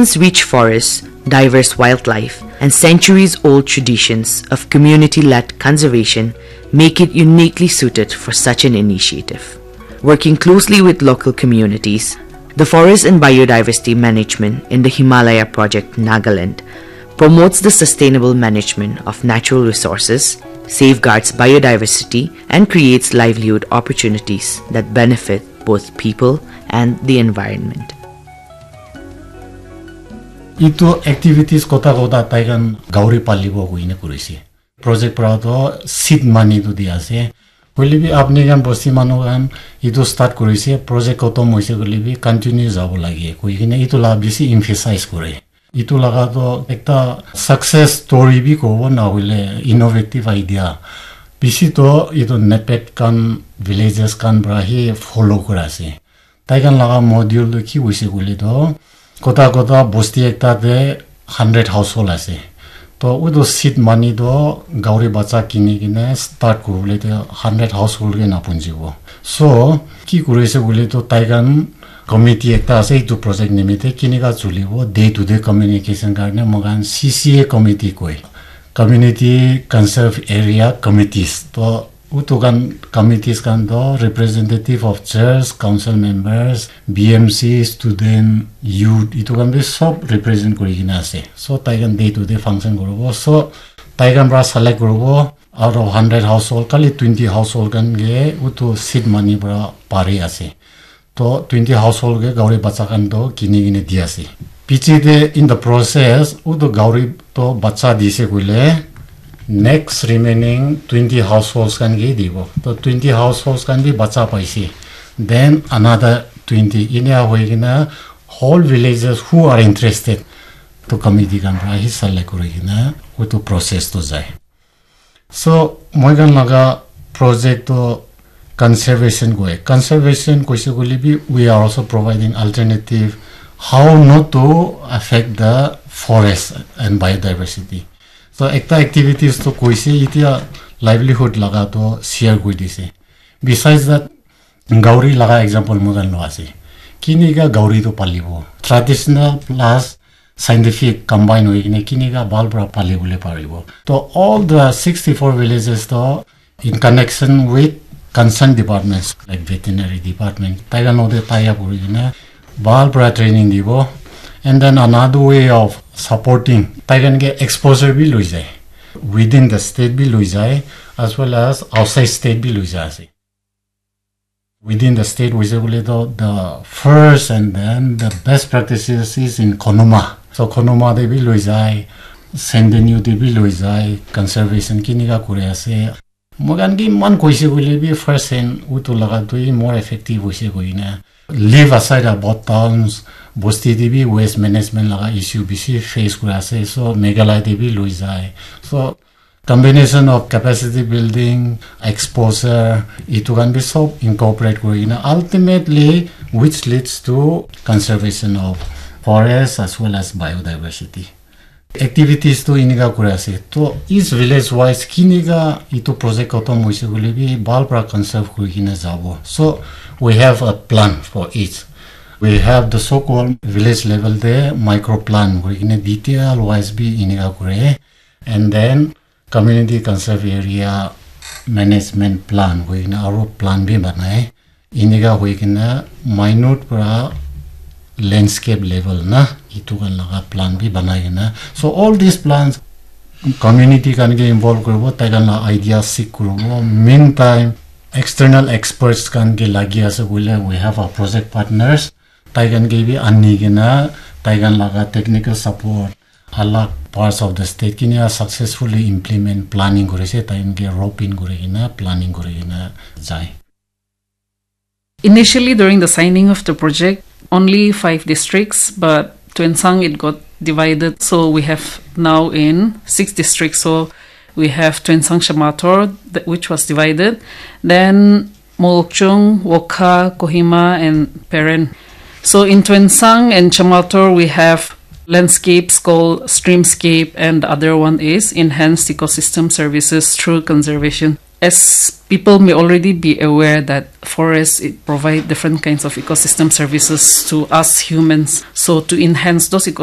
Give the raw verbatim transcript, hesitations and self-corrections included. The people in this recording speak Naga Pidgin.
Its rich forests, diverse wildlife, and centuries old traditions of community led conservation make it uniquely suited for such an initiative. Working closely with local communities, the Forest and Biodiversity Management in the Himalaya Project, Nagaland, promotes the sustainable management of natural resources, safeguards biodiversity, and creates livelihood opportunities that benefit both people and the environment. Itu activities kota kota tai khan gauri palibo koine kurise. Project pra to seed money to di ase. Hoile bi apni khan bosti manu khan itu start kurise, project kotom hoise koile bi continue jabo lage koi kene itu la bisi emphasize kore. Itu laga to ekta success story bi kobo na hoile innovative idea. Bisi to itu NEPET khan villages khan pra hi follow kura ase. Tai khan laga module tu ki hoise koile to kota kota bosti ekta te hundred household ase. To utu seed money to gauri bacha kini kine start kuribole te hundred household ke na punjibo. So ki kuri ase koile to tai khan committee ekta ase itu project nimite kinika chulibo day to day communication karne moikhan C C A committee koi, community conserve area committees. To utu khan committees khan to representative of church, council members, B M C, student, youth itu khan bi sob represent kuri kena ase. So tai khan day to day function kuribo. So tai khan pra select kuribo, out of hundred household kali twenty household khan ke utu seed money pra pari ase. To twenty household ke gauri bacha khan to kini kine di ase. Piche te in the process utu gauri to bacha dise koile next remaining twenty households khan ke dibo. To twenty households khan bi bacha paise. Then another twenty inia hoi kena whole villages who are interested to committee khan pra hi select kuri kena utu process to jai. So moikhan laga project to conservation koi. Conservation koise koile bi we are also providing alternative how not to affect the forest and biodiversity. So ekta activities to koise itia livelihood laga to share kuri dise. Besides that, gauri laga example moikhan lo ase. Kinika gauri to palibo. Traditional plus scientific combine hoi kine kinika bhal pra pali bole paribo. To all the sixty-four villages to in connection with concerned departments like veterinary department tai khan logote tie up kuri kine bhal pra training dibo. And then another way of supporting tai khan ke exposure bi loi jai, within the state bi loi jai as well as outside state bi loi jai ase. Within the state hoise koile to the first and then the best practices is in Konoma. So Konoma te bi loi jai, Sendenyu te bi loi jai, conservation kinika kuri ase. Moikhan ke iman koise koile bi first hand utu laga tu hi more effective hoise koina. Leave aside about towns, bosti te bi waste management laga issue bisi face kuri ase. So Meghalaya te bi loi jai. So combination of capacity building, exposure, itu khan bi sob incorporate kuri kena ultimately which leads to conservation of forest as well as biodiversity. Activities tu inika kuri ase. To each village wise kinika itu project khatam hoise koile bi bhal pra conserve kuri kena jabo. So we have a plan for each. We have the so-called village level te micro plan kuri kena detail wise bi inika kure. And then community conserve area management plan koi kena aro plan bi banai. Inika hoi kena minute pra landscape level na itu khan laga plan bi banai kena. So all these plans community khan ke involve kuribo, tai khan la idea seek kuribo. Meantime external experts khan ke lagi ase koile we have our project partners. Tai khan ke bi ani kena tai khan laga technical support alag parts of the state kinika successfully implement planning kuri ase, tai khan ke rope in kuri kena planning kuri kena jai. Initially, during the signing of the project, only five districts, but Tuensang it got divided. So we have now in six districts. So we have Tuensang Shamator, th- which was divided. Then Mokokchung, Wokha, Kohima, and Peren. So in Tuensang and Shamator, we have landscapes called streamscape, and the other one is enhanced ecosystem services through conservation. As people may already be aware that forests it provide different kinds of ecosystem services to us humans. So to enhance those ecosystem